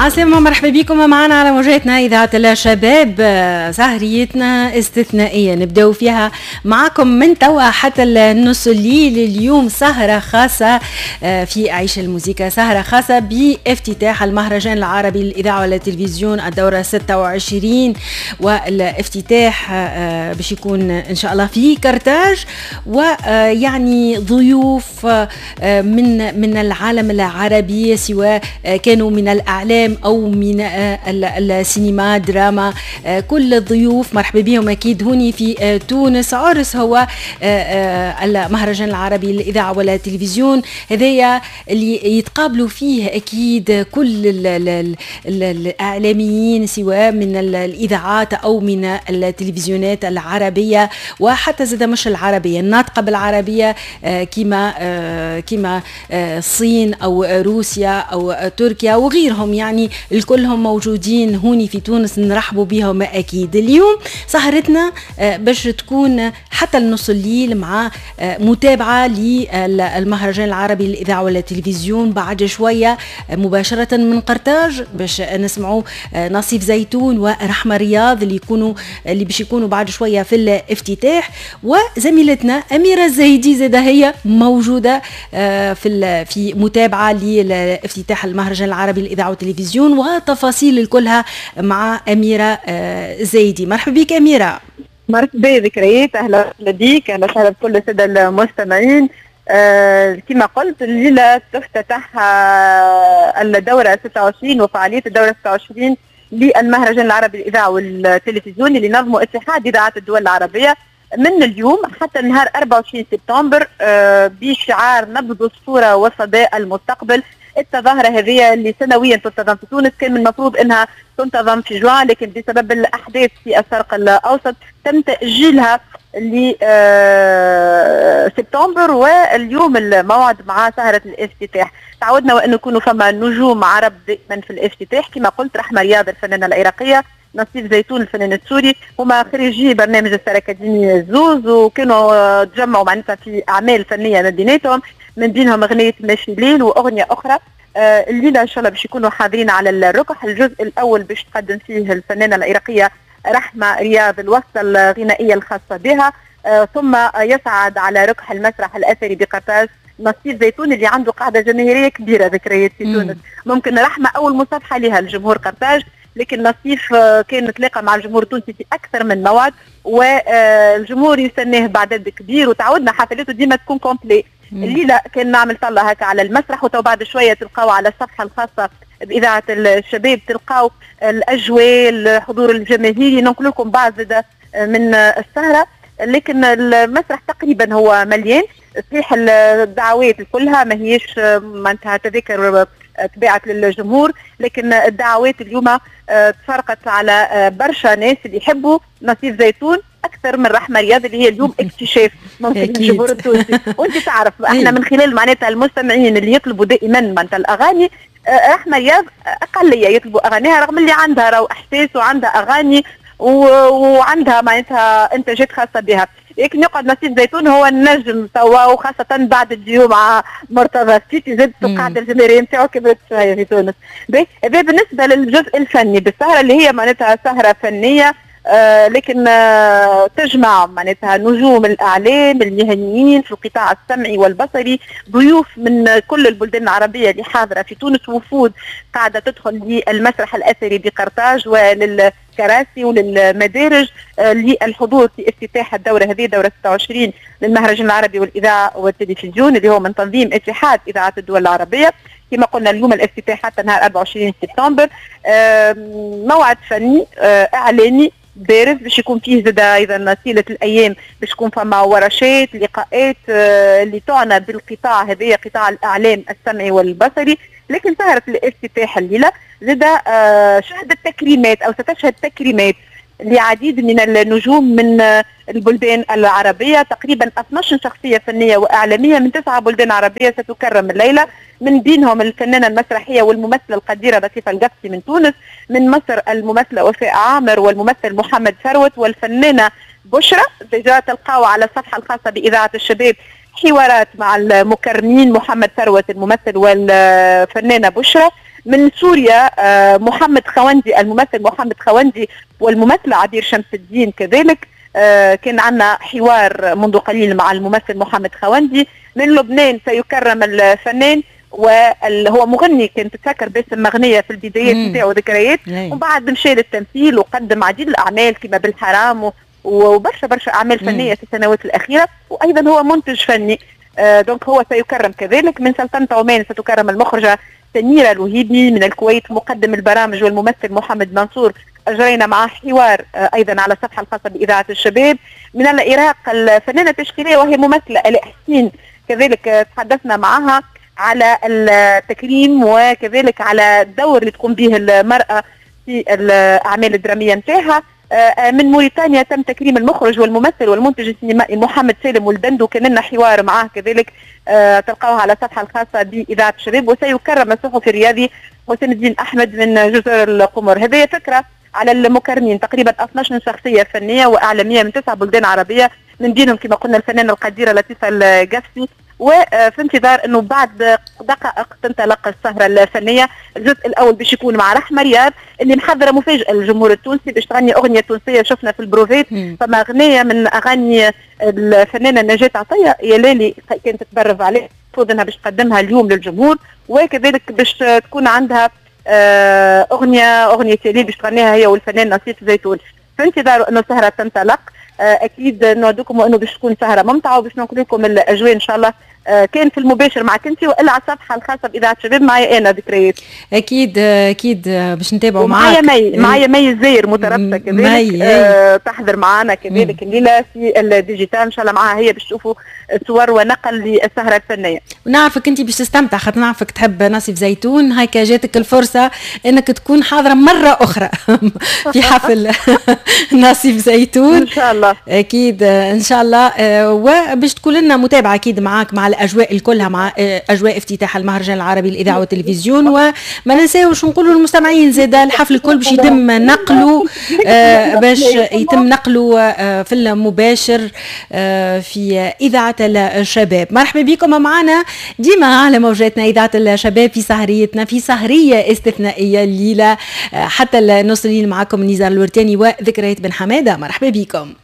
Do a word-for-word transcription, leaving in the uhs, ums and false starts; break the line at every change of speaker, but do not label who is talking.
عسلامة، مرحبا بكم معنا على موجاتنا إذاعة الشباب. سهريتنا استثنائية نبداو فيها معكم من توا حتى النص الليل. اليوم سهرة خاصة آه، في عيش الموسيقى، سهرة خاصة بافتتاح المهرجان العربي للإذاعة والتلفزيون الدورة ستة وعشرين، والافتتاح آه، باش يكون إن شاء الله في كرتاج، ويعني ضيوف آه، من من العالم العربي، سواء كانوا من الإعلام أو من السينما، دراما، كل الضيوف مرحبا بهم أكيد هوني في تونس. عرس هو المهرجان العربي للإذاعة والتلفزيون هذايا اللي يتقابلوا فيه أكيد كل ال ال ال الإعلاميين، سواء من الإذاعات أو من التلفزيونات العربية، وحتى زاد مش العربية، الناطقة بالعربية، كما كما الصين أو روسيا أو تركيا وغيرهم، يعني الكلهم موجودين هوني في تونس، نرحبوا بهم اكيد. اليوم سهرتنا آه، باش تكون حتى النص الليل مع آه، متابعه للمهرجان العربي للاذاعة والتلفزيون. بعد شوية آه، مباشرة من قرطاج باش نسمعوا نصيف زيتون ورحمة رياض اللي يكونوا اللي باش يكونوا بعد شوية في الافتتاح، وزميلتنا اميره الزايدي زاده هي موجودة في في متابعه لافتتاح المهرجان العربي للاذاعة والتلفزيون، وتفاصيل كلها مع أميرة آه، زايدي. مرحبا بك أميرة.
مرحبا ذكريات، اهلا بك، اهلا وسهلا بكل السادة المستمعين. آه كما قلت، الليلة تفتتح آه الدورة ستة وعشرين وفعاليه الدورة ستة وعشرين للمهرجان العربي للاذاعة والتلفزيون اللي نظمه اتحاد اذاعات الدول العربية من اليوم حتى نهار أربعة وعشرين سبتمبر آه بشعار نبض الصورة وصدى المستقبل. التظاهرة هذه اللي سنويا تنتظم في تونس، كان من المفروض انها تنتظم في جوان، لكن بسبب الاحداث في الشرق الاوسط تم تاجيلها لسبتمبر، واليوم الموعد مع سهرة الافتتاح. تعودنا وأن يكونوا فما نجوم عرب دائما في الافتتاح، كما قلت رحمة رياض الفنانة العراقية، نصيف زيتون الفنان السوري، هما خريجي برنامج ستار اكاديمي زوز، وكانوا تجمعوا معناتها في اعمال فنية ما بيناتهم، من بينهم اغنية ماشي ليل واغنيه اخرى. آه، الليلة ان شاء الله باش يكونوا حاضرين على الركح. الجزء الاول باش تقدم فيه الفنانة العراقية رحمه رياض الوصلة الغنائية الخاصة بها، آه، ثم يصعد على ركح المسرح الاثري بقرطاج نصيف زيتون اللي عنده قاعدة جماهيرية كبيرة ذكريات في تونس. ممكن رحمه اول مصافحه لها الجمهور قرطاج، لكن نصيف آه، كان تلاقى مع الجمهور التونسي في اكثر من موعد، والجمهور يستناه بعدد كبير، وتعودنا حفلاته ديما تكون complet. الليلة كان نعمل طلة هكا على المسرح، وتو بعد شوية تلقاو على الصفحة الخاصة باذاعة الشباب تلقاو الاجواء، الحضور الجماهيري، ننقل لكم بعض من السهره. لكن المسرح تقريبا هو مليان. صحيح الدعوات كلها ما هيش معناتها تذاكر تباعت للجمهور، لكن الدعوات اليوم آه، تفرقت على آه، برشا ناس اللي يحبوا نصيف زيتون اكثر من رحمه رياض اللي هي اليوم اكتشاف ممكن الجمهور التونسي. وانت تعرف احنا من خلال معناتها المستمعين اللي يطلبوا دائما معناتها الاغاني، آه، رحمه رياض اقلية يطلبوا اغانيها، رغم اللي عندها راهو احساس وعندها اغاني وعندها معناتها انتاجات خاصة بها، لكن يقعد نصيف زيتون هو النجم توا، وخاصة بعد الديو مع مرتضى السيتي زادت القاعدة الجماهيرية نتاعو كبرت شوية في تونس. هذا بالنسبة للجزء الفني بالسهرة اللي هي معناتها سهرة فنية آه لكن آه تجمع معناتها نجوم الاعلام المهنيين في القطاع السمعي والبصري، ضيوف من كل البلدان العربية اللي حاضره في تونس، وفود قاعدة تدخل للمسرح الاثري بقرطاج وللكراسي وللمدارج آه للحضور في افتتاح الدورة هذه، دوره ستة وعشرين للمهرجان العربي والاذاعه والتلفزيون اللي هو من تنظيم اتحاد اذاعات الدول العربيه. كما قلنا، اليوم الافتتاح حتى نهار أربعة وعشرين سبتمبر. موعد فني آه، اعلامي بارز باش يكون فيه زاد ايضا طيلة الايام باش يكون فما ورشات، لقاءات آه، اللي تعنى بالقطاع هذايا، قطاع الاعلام السمعي والبصري. لكن سهره الافتتاح الليلة زاد آه، شهدت تكريمات او ستشهد تكريمات لعديد من النجوم من البلدان العربية. تقريبا اثناش شخصية فنية وإعلامية من تسعة بلدان عربية ستكرم الليلة، من بينهم الفنانة المسرحية والممثلة القديرة لطيفة القفصي من تونس، من مصر الممثلة وفاء عامر والممثل محمد ثروت والفنانة بشرى. déjà تلقاو على الصفحة الخاصة بإذاعة الشباب حوارات مع المكرمين محمد ثروت الممثل والفنانة بشرى. من سوريا محمد خوندي، الممثل محمد خوندي والممثلة عبير شمس الدين كذلك. كان عندنا حوار منذ قليل مع الممثل محمد خوندي. من لبنان سيكرم الفنان وهو مغني، كان تتذكر باسم مغنية في البدايات نتاعو ذكريات، ومن بعد مشى للتمثيل وقدم عديد الأعمال كما بالحرام وبرشا برشا أعمال فنية في السنوات الأخيرة، وأيضا هو منتج فني. آه donc هو سيكرم كذلك. من سلطنة عمان ستكرم المخرجة سميرة الوهيبي. من الكويت مقدم البرامج والممثل محمد منصور، أجرينا معه حوار آه أيضا على الصفحة الخاصة بإذاعة الشباب. من العراق الفنانة التشكيلية وهي ممثلة آلاء حسين، كذلك تحدثنا معها على التكريم وكذلك على الدور اللي تقوم به المرأة في الأعمال الدرامية نتاعها. من موريتانيا تم تكريم المخرج والممثل والمنتج السينمائي محمد سالم والدندو، كان لنا حوار معاه كذلك، تلقاوه على الصفحة الخاصة بإذاعة الشباب. وسيكرم الصحفي الرياضي حسين الدين أحمد من جزر القمر. هذه فكرة على المكرمين، تقريبا اثناش شخصية فنية وإعلامية من تسع بلدان عربية، من بينهم كما قلنا الفنانة القديرة لطيفة القفصي. وفي انتظار انه بعد دقائق تنطلق السهرة الفنية. الجزء الاول باش يكون مع رحمه رياض اللي محضرة مفاجاة للجمهور التونسي باش تغني اغنية تونسية شفنا في البروفيت، فما اغنية من اغاني الفنانة نجاة عطية يا لالي كانت تتبرف عليه، المفروض انها باش تقدمها اليوم للجمهور، وكذلك باش تكون عندها اغنية اغنية يا باش تغنيها هي والفنان نصيف زيتون. في انتظار انه السهرة تنطلق، اكيد نوعدكم انه باش تكون سهره ممتعة وباش ننقل لكم الاجواء ان شاء الله، كان في المباشر معك انت والا على الصفحة الخاصة باذاعة الشباب معي انا ذكريات.
اكيد اكيد باش نتابعوا معاك.
معايا مي معايا مي الزاير مترابطة كذلك، آه تحضر معنا كذلك الليلة في ال digital ان شاء الله، معاها هي باش تشوفوا صور ونقل للسهره الفنية.
ونعرفك انت باش تستمتع خاطر نعرفك تحب نصيف زيتون، هيك جاتك الفرصة انك تكون حاضره مرة اخرى في حفل نصيف زيتون
ان شاء الله.
اكيد ان شاء الله، وباش تكون لنا متابعه اكيد معاك مع الاجواء كلها، مع اجواء افتتاح المهرجان العربي للاذاعة والتلفزيون. وما ننساوش نقولوا للمستمعين زاد الحفل الكل باش يتم نقله، باش يتم نقله في المباشر في اذاعة الشباب. مرحبا بكم معنا ديما على موجاتنا اذاعة الشباب في سهريتنا، في سهريه استثنائية الليلة حتى النص الليل، معكم نزار الورتاني وذكريات بن حمادة. مرحبا بكم.